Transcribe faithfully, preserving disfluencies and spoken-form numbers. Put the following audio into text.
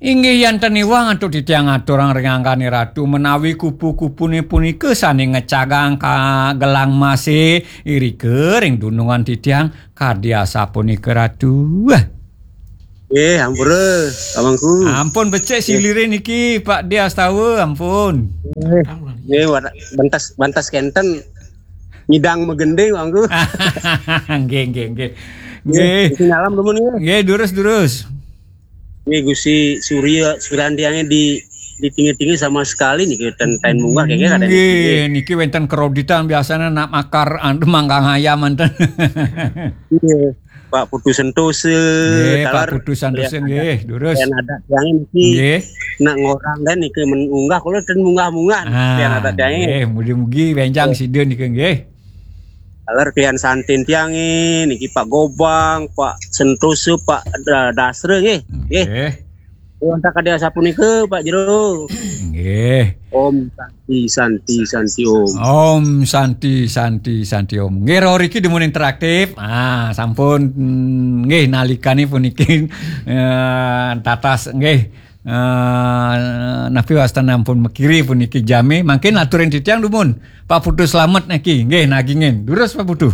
Inggih, yanten iwang antuk titiang aturang ring anggané Ratu, menawi kupu-kupune punika sane ngecagang ka gelang mase, irika ring dunungan titiang kadi asapunika, Ratu. Eh, ampura, Pak Mangku. Ampun becik silire niki, Pak Diastawa, ampun. Eh, bantas bantas kenten nyidang megending, Pak Mangku. Nggih, nggih, nggih. Nggih. Nggih, nyalam dumun nggih. Nggih, durus, durus. Nggih, Gusti Surya, Suryantiange di di tinggi-tinggi sama sekali niki ten ten munggah kayaknya ada nggih. Niki wenten kreditan biasanya nak makar anu manggang ayam manten. Iya. Pak Putu Sentosa, nggih, Pak Putu Sentosa nggih, durus. Yang ada yang niki nggih. Nak ngorang dan niki mengunggah kalau ten munggah-munggah ah, yang ada yang nggih, mugi-mugi benjang sida niki nggih. Aler klian santin tiange niki Pak Gobang, Pak Sentosa, Pak Dasra nggih. Nggih. Wonten kadi asapunika Pak Jero. Nggih. Om Santi Santi Santi Om. Om Santi Santi Santi Om. Nggih, riki dumun interaktif. Ah, sampun mm, nggih nalikane puniki eh, tatas nggih. Uh, napi wastan ampun mekiri puniki jami, mangkin aturin titiang dumun. Pak Putu selamat niki, nggih nagingin. Durus Pak Putu.